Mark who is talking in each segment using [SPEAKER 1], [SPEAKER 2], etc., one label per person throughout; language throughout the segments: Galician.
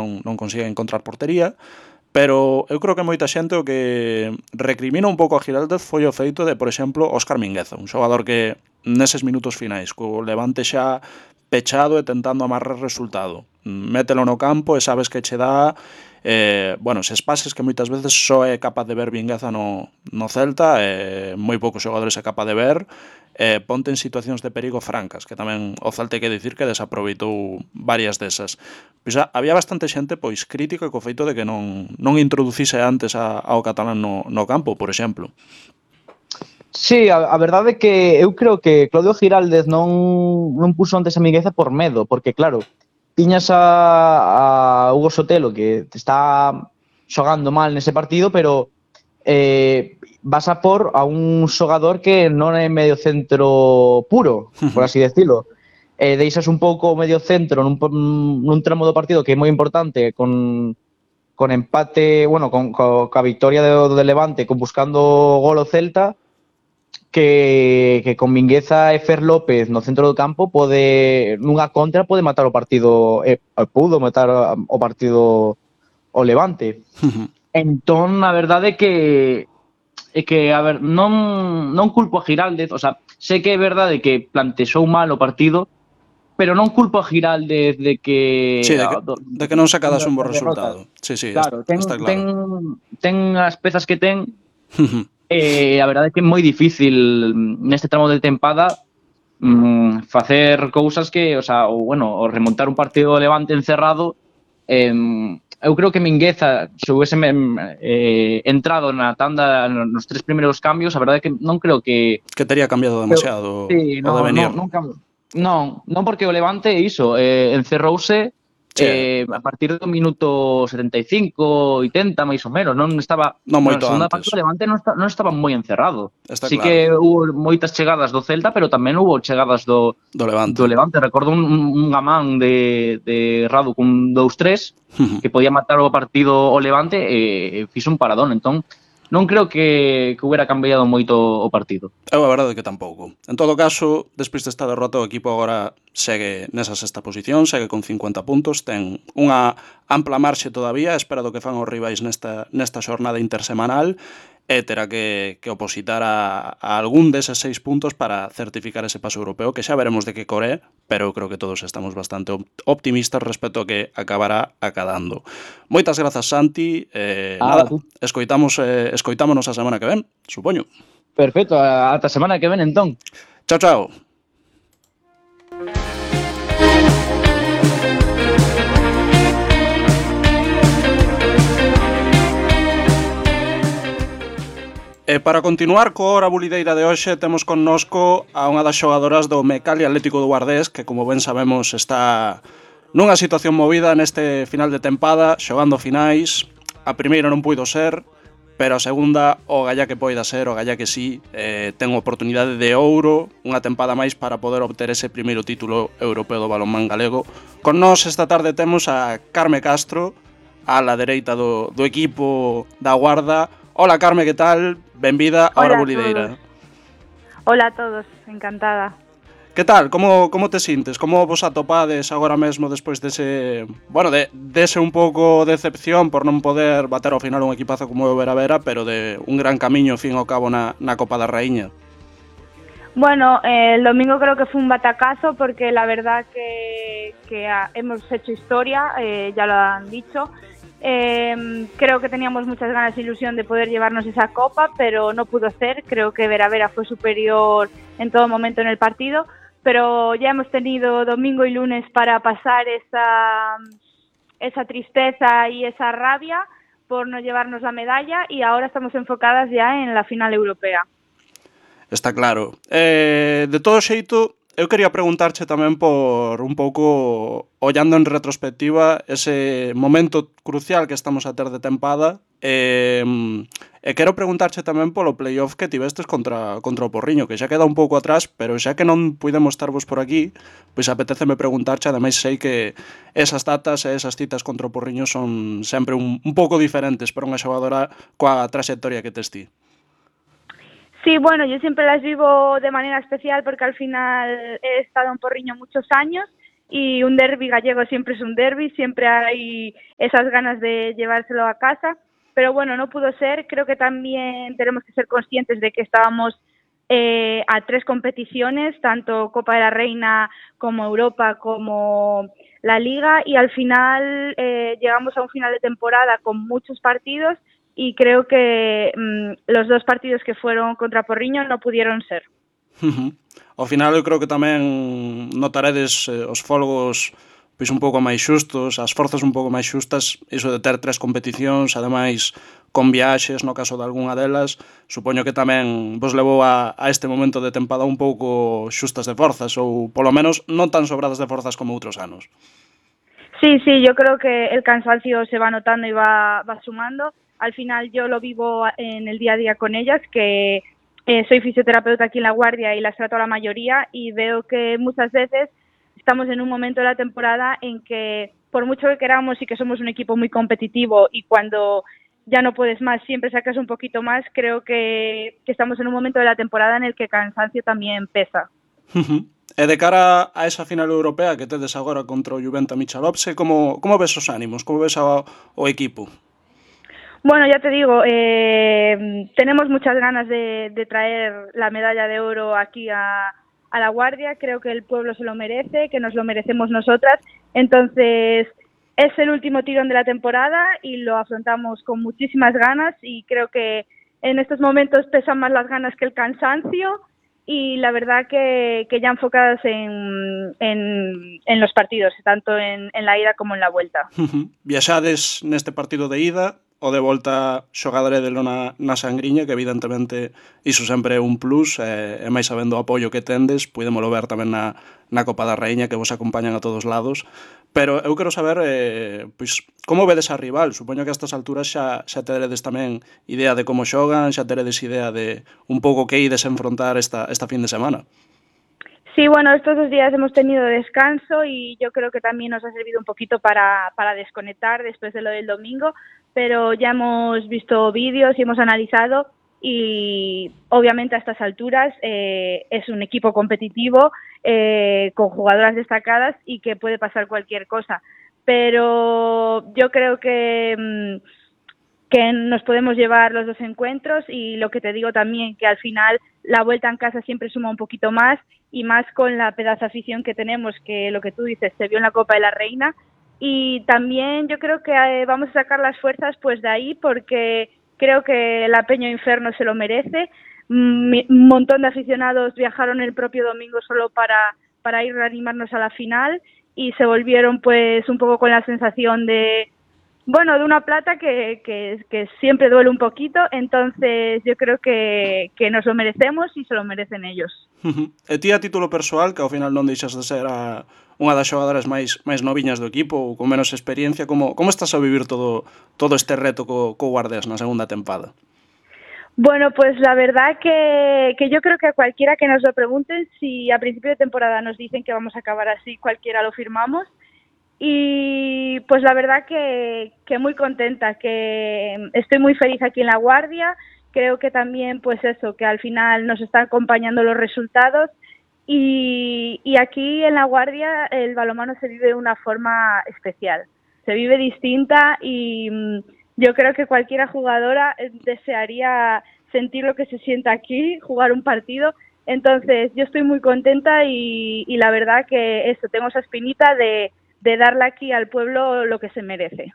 [SPEAKER 1] non consigue encontrar portería, pero eu creo que moita xente o que recrimina un pouco a Giraldez foi o feito de, por exemplo, Óscar Mingueza, un xogador que neses minutos finais, co Levante xa pechado e tentando amarrar resultado, mételo no campo e sabes que che dá eses pases que moitas veces só é capaz de ver Mingueza no Celta, moi poucos xogadores é capaz de ver, ponte en situacións de perigo francas, que tamén o Celta hai que dicir que desaproveitou varias desas. Pois había bastante xente pois crítica co feito de que non introducise antes ao catalán no campo, por exemplo.
[SPEAKER 2] Sí, a verdade é que eu creo que Claudio Giraldez non puso antes a Mingueza por medo, porque claro, tiñas a Hugo Sotelo que está xogando mal nese partido, pero vas a por a un xogador que non é medio centro puro, por así decirlo. Deixas un pouco o medio centro nun tramo do partido que é moi importante, con empate, coa victoria do Levante, con buscando gol o Celta, que con Mingueza e Fer López no centro do campo nunha contra pode matar o partido, pudo matar o partido o Levante. Entón, a verdade é que a ver, non culpo a Giraldez, o sea, sei que é verdade que plantexou mal o partido, pero non culpo a Giraldez de que...
[SPEAKER 1] Sí, de que non sacadas un bo resultado. Sí,
[SPEAKER 2] claro,
[SPEAKER 1] está claro.
[SPEAKER 2] Ten as pezas que ten, a verdade é que é moi difícil neste tramo de tempada facer cousas que, o remontar un partido Levante encerrado. Eu creo que Mingueza, se houvese entrado na tanda nos 3 primeiros cambios, a verdade é que non creo que
[SPEAKER 1] tería cambiado demasiado o devenir.
[SPEAKER 2] Non, porque o Levante iso, encerrouse a partir do minuto 75, 80, máis ou menos, non estaba...
[SPEAKER 1] Non moito antes.
[SPEAKER 2] O Levante non estaba moi encerrado.
[SPEAKER 1] Sí
[SPEAKER 2] que houve moitas chegadas do Celta, pero tamén houve chegadas do Levante. Recordo un gamán de Radu cun 2-3 que podía matar o partido o Levante e fixo un paradón. Entón, non creo que hubiera cambiado moito o partido.
[SPEAKER 1] A verdade é que tampouco. En todo caso, despois desta derrota, o equipo agora segue nesa sexta posición, segue con 50 puntos, ten unha ampla marxe todavía, espera do que fan os rivais nesta xornada intersemanal, e terá que opositar a algún deses 6 puntos para certificar ese paso europeo, que xa veremos de que core, pero creo que todos estamos bastante optimistas respecto a que acabará acadando. Moitas grazas, Santi. Escoitámonos a semana que ven, supoño.
[SPEAKER 2] Perfecto, ata a semana que ven, entón.
[SPEAKER 1] Chao, chao. E para continuar coa hora bulideira de hoxe, temos connosco a unha das xogadoras do Mecali Atlético do Guardés, que, como ben sabemos, está nunha situación movida neste final de tempada, xogando finais. A primeira non puido ser, pero a segunda, o galla que poida ser, o galla que sí, ten oportunidade de ouro, unha tempada máis para poder obter ese primeiro título europeo do balonmán galego. Con nós esta tarde temos a Carme Castro, a la dereita do equipo da Guarda. Hola, Carme, que tal? Benvida a Hora Bulideira.
[SPEAKER 3] Hola a todos, encantada.
[SPEAKER 1] Que tal? Como te sintes? Como vos atopades agora mesmo despois dese un pouco decepción por non poder bater ao final un equipazo como o Vera, pero de un gran camiño, fin ao cabo, na Copa da Raíña?
[SPEAKER 3] Bueno, el domingo creo que fue un batacazo porque la verdad que hemos hecho historia, ya lo han dicho. Creo que teníamos muchas ganas e ilusión de poder llevarnos esa copa, pero no pudo ser. Creo que Vera fue superior en todo momento en el partido, pero ya hemos tenido domingo y lunes para pasar esa tristeza y esa rabia por no llevarnos la medalla, y ahora estamos enfocadas ya en la final europea.
[SPEAKER 1] Está claro. De todo xeito, eu quería preguntarche tamén por un pouco, ollando en retrospectiva, ese momento crucial que estamos a ter de tempada, e quero preguntarche tamén polo playoff que tivestes contra o Porriño, que xa queda un pouco atrás, pero xa que non puidemos estarvos por aquí, pois apetéceme preguntarche, ademais sei que esas datas e esas citas contra o Porriño son sempre un pouco diferentes para unha xogadora coa traxectoria que tes ti.
[SPEAKER 3] Sí, bueno, yo siempre las vivo de manera especial porque al final he estado en Porriño muchos años y un derbi gallego siempre es un derbi, siempre hay esas ganas de llevárselo a casa, pero bueno, no pudo ser. Creo que también tenemos que ser conscientes de que estábamos a 3 competiciones, tanto Copa de la Reina como Europa como la Liga, y al final llegamos a un final de temporada con muchos partidos y creo que los 2 partidos que fueron contra Porriño no pudieron ser.
[SPEAKER 1] Ao final eu creo que tamén notaredes os folgos pois un pouco máis xustos, as forzas un pouco máis xustas, iso de ter 3 competicións, ademais con viaxes, no caso de algunha delas, supoño que tamén vos levou a este momento de tempada un pouco xustas de forzas, ou polo menos non tan sobradas de forzas como outros anos.
[SPEAKER 3] Sí, yo creo que el cansancio se va notando y va sumando. Al final yo lo vivo en el día a día con ellas, que soy fisioterapeuta aquí en La Guardia y las trato a la mayoría, y veo que muchas veces estamos en un momento de la temporada en que, por mucho que queramos y que somos un equipo muy competitivo, y cuando ya no puedes más siempre sacas un poquito más, creo que estamos en un momento de la temporada en el que el cansancio también pesa.
[SPEAKER 1] E de cara a esa final europea que tedes agora contra o Juventa Michalovce, como ves os ánimos? Como ves o equipo?
[SPEAKER 3] Bueno, ya te digo, tenemos muchas ganas de traer la medalla de oro aquí a La Guardia. Creo que el pueblo se lo merece, que nos lo merecemos nosotras. Entonces, es el último tirón de la temporada y lo afrontamos con muchísimas ganas, y creo que en estos momentos pesan más las ganas que el cansancio, y la verdad que ya enfocadas en los partidos, tanto en la ida como en la vuelta.
[SPEAKER 1] Viaxades neste partido de ida, o de volta xogadoredelo na sangriña, que evidentemente iso sempre é un plus, e máis sabendo o apoio que tendes, podémolo ver tamén na Copa da Raíña, que vos acompañan a todos lados. Pero eu quero saber, pois, como vedes a rival? Supoño que a estas alturas xa teredes tamén idea de como xogan, xa teredes idea de un pouco que ides enfrontar esta fin de semana.
[SPEAKER 3] Sí, bueno, estos 2 días hemos tenido descanso y yo creo que también nos ha servido un poquito para desconectar después de lo del domingo, pero ya hemos visto vídeos y hemos analizado, y obviamente a estas alturas es un equipo competitivo con jugadoras destacadas y que puede pasar cualquier cosa, pero yo creo que nos podemos llevar los 2 encuentros, y lo que te digo también, que al final la vuelta en casa siempre suma un poquito más, y más con la pedazo afición que tenemos, que lo que tú dices se vio en la Copa de la Reina, y también yo creo que vamos a sacar las fuerzas pues de ahí, porque creo que la Peña Inferno se lo merece. Un montón de aficionados viajaron el propio domingo solo para ir a animarnos a la final, y se volvieron pues un poco con la sensación de una plata que siempre duele un poquito. Entonces yo creo que nos lo merecemos y se lo merecen ellos.
[SPEAKER 1] E ti, a título persoal, que ao final non deixas de ser unha das xogadoras máis noviñas do equipo, ou con menos experiencia, como estás a vivir todo este reto co Guardés na segunda tempada?
[SPEAKER 3] Bueno, pues la verdad que yo creo que a cualquiera que nos lo pregunten, si a principio de temporada nos dicen que vamos a acabar así, cualquiera lo firmamos. Y pues la verdad que muy contenta, que estoy muy feliz aquí en La Guardia. Creo que también pues eso, que al final nos están acompañando los resultados, y aquí en La Guardia el balonmano se vive de una forma especial, se vive distinta, y yo creo que cualquier jugadora desearía sentir lo que se siente aquí, jugar un partido. Entonces yo estoy muy contenta, y la verdad que eso, tengo esa espinita de darle aquí al pueblo lo que se merece.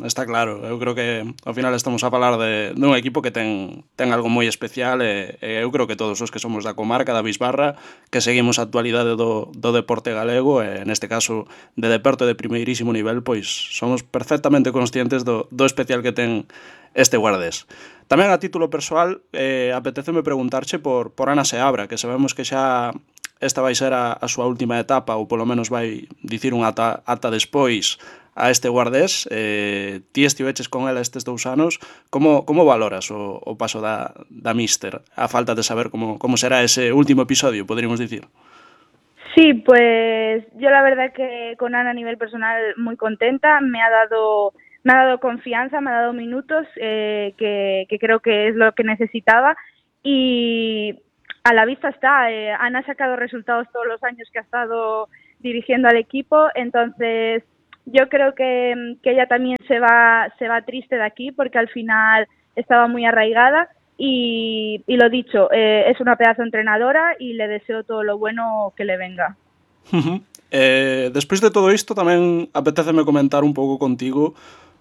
[SPEAKER 1] Está claro, eu creo que ao final estamos a falar dun equipo que ten algo moi especial, e eu creo que todos os que somos da comarca da Bisbarra, que seguimos a actualidade do deporte galego, e neste caso de deporte de primeirísimo nivel, pois somos perfectamente conscientes do especial que ten este Guardés. Tamén a título persoal, apeteceme preguntarche por Ana Seabra, que sabemos que xa esta vai ser a súa última etapa, ou polo menos vai dicir unha ata despois a este Guardés. Ti estiveches con ela estes 2 anos. Como valoras o paso da míster, a falta de saber como será ese último episodio, poderíamos dicir?
[SPEAKER 3] Sí, pues yo la verdad que con Ana a nivel personal muy contenta, me ha dado confianza, me ha dado minutos, que creo que es lo que necesitaba, y a la vista está. Ana ha sacado resultados todos los años que ha estado dirigiendo al equipo, entonces yo creo que ella también se va triste de aquí porque al final estaba muy arraigada y lo dicho, es una pedazo entrenadora y le deseo todo lo bueno que le venga.
[SPEAKER 1] Despois de todo isto tamén apetéceme comentar un pouco contigo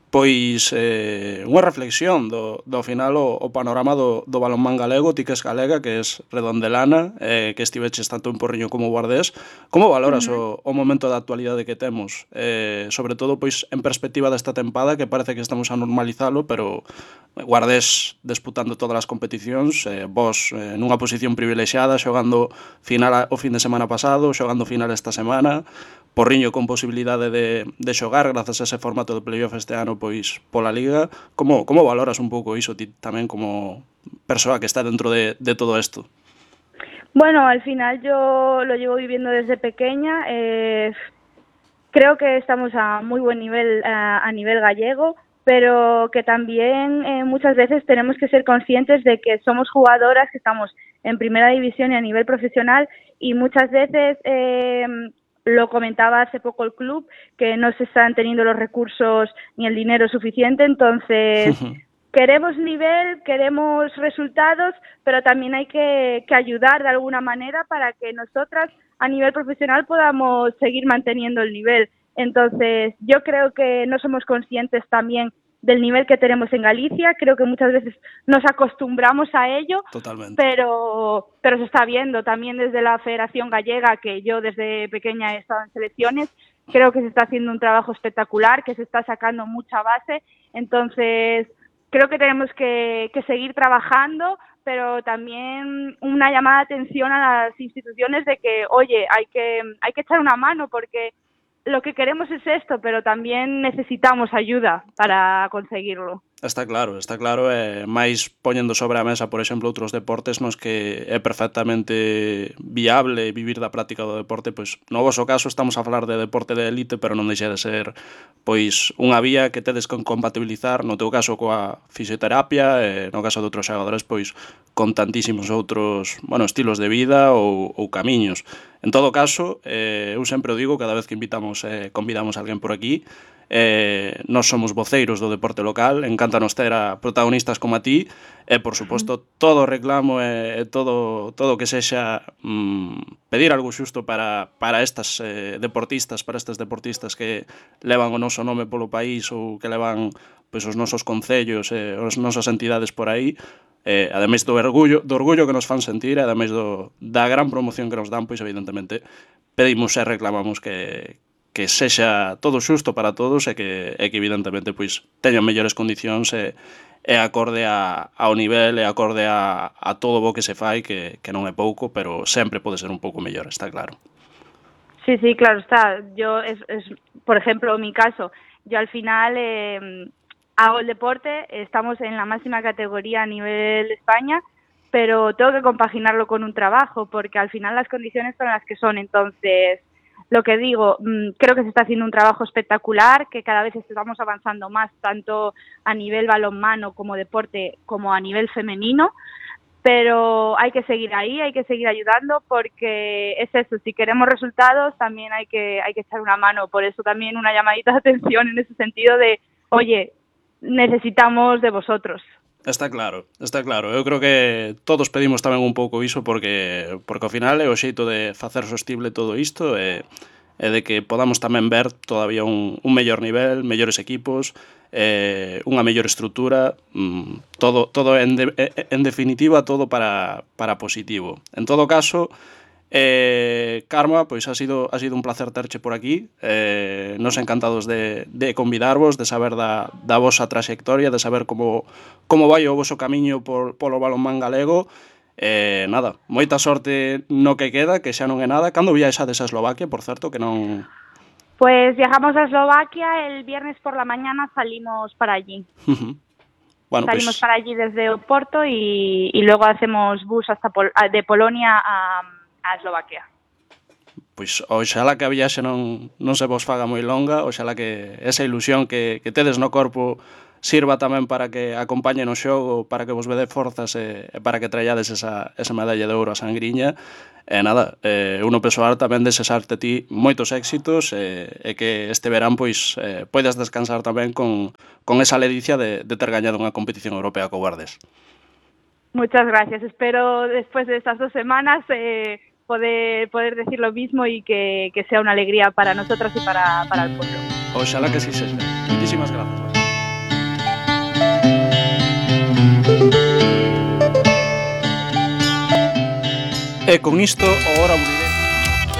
[SPEAKER 1] pois unha reflexión do final o panorama do balonmán galego, ti que es galega, que es redondelana, que estiveches tanto en Porriño como Guardés. Como valoras o momento da actualidade que temos? Sobre todo pois en perspectiva desta tempada, que parece que estamos a normalizalo, pero Guardés disputando todas as competicións, vos nunha posición privilexiada, xogando final o fin de semana pasado, xogando final esta semana, Porriño con posibilidade de xogar grazas a ese formato de playoff este ano pois pola Liga. Como valoras un pouco iso ti tamén como persoa que está dentro de todo isto?
[SPEAKER 3] Bueno, al final yo lo llevo viviendo desde pequeña. Creo que estamos a muy buen nivel a nivel gallego, pero que también muchas veces tenemos que ser conscientes de que somos jugadoras que estamos en primera división y a nivel profesional y muchas veces lo comentaba hace poco el club, que no se están teniendo los recursos ni el dinero suficiente, entonces queremos nivel, queremos resultados, pero también hay que ayudar de alguna manera para que nosotras a nivel profesional podamos seguir manteniendo el nivel. Entonces, yo creo que no somos conscientes también del nivel que tenemos en Galicia, creo que muchas veces nos acostumbramos a ello.
[SPEAKER 1] Totalmente.
[SPEAKER 3] Pero se está viendo también desde la Federación Gallega, que yo desde pequeña he estado en selecciones, creo que se está haciendo un trabajo espectacular, que se está sacando mucha base, entonces creo que tenemos que seguir trabajando, pero también una llamada de atención a las instituciones de que, oye, hay que echar una mano porque lo que queremos es esto, pero también necesitamos ayuda para conseguirlo.
[SPEAKER 1] Está claro, máis poñendo sobre a mesa, por exemplo, outros deportes nos que é perfectamente viable vivir da práctica do deporte, pois no voso caso estamos a falar de deporte de élite, pero non deixa de ser pois unha vía que tedes con compatibilizar, no teu caso coa fisioterapia, no caso de outros xogadores, pois con tantísimos outros, estilos de vida ou camiños. En todo caso, eu sempre o digo cada vez que convidamos a alguén por aquí, nós somos voceiros do deporte local, encántanos ter a protagonistas como a ti e, por suposto, todo o reclamo e todo que sexa pedir algo xusto para estas deportistas, para estes deportistas que levan o noso nome polo país ou que levan pois, os nosos concellos e as nosas entidades por aí, ademais do orgullo que nos fan sentir, ademais da gran promoción que nos dan, pois evidentemente pedimos e reclamamos que sexa todo xusto para todos e que evidentemente pois teñan mellores condicións e acorde ao nivel e acorde a todo o que se fai, que non é pouco, pero sempre pode ser un pouco mellor, está claro.
[SPEAKER 3] Sí, claro está. Yo, por ejemplo, en mi caso, yo al final hago el deporte, estamos en la máxima categoría a nivel España, pero tengo que compaginarlo con un trabajo, porque al final las condiciones son las que son, entonces lo que digo, creo que se está haciendo un trabajo espectacular, que cada vez estamos avanzando más, tanto a nivel balonmano como deporte, como a nivel femenino, pero hay que seguir ahí, hay que seguir ayudando, porque es eso, si queremos resultados también hay que echar una mano, por eso también una llamadita de atención en ese sentido de, oye, necesitamos de vosotros.
[SPEAKER 1] Está claro. Eu creo que todos pedimos tamén un pouco iso porque ao final é o xeito de facer sostible todo isto e de que podamos tamén ver todavía un mellor nivel, mellores equipos, unha mellor estrutura, todo en definitiva todo para positivo. En todo caso, Karma, pois ha sido un placer terche por aquí, nos encantados de convidarvos, de saber da vosa traxectoria, de saber como vai o voso camiño polo balonmán galego. Nada, moita sorte no que queda, que xa non é nada. Cando viaxades a Eslovaquia, por certo, que non...
[SPEAKER 3] Pues viajamos a Eslovaquia, el viernes por la mañana salimos para allí. Salimos para allí desde Oporto y luego hacemos bus hasta de Polonia a Eslovaquia.
[SPEAKER 1] Pois oxalá que a viaxe non se vos faga moi longa, oxalá que esa ilusión que tedes no corpo sirva tamén para que acompañen o xogo, para que vos vede forzas e para que traallades esa medalla de ouro a Sangriña. E nada, uno persoal tamén desexarte ti moitos éxitos e que este verán pois poidas descansar tamén con esa ledicia de ter gañado unha competición europea co Guardes.
[SPEAKER 3] Muchas gracias. Espero después de estas 2 semanas poder decir lo mismo y que sea una alegría para nosotros y para el pueblo.
[SPEAKER 1] Oxalá que sí sexa. Muchísimas gracias. E con isto, agora abriré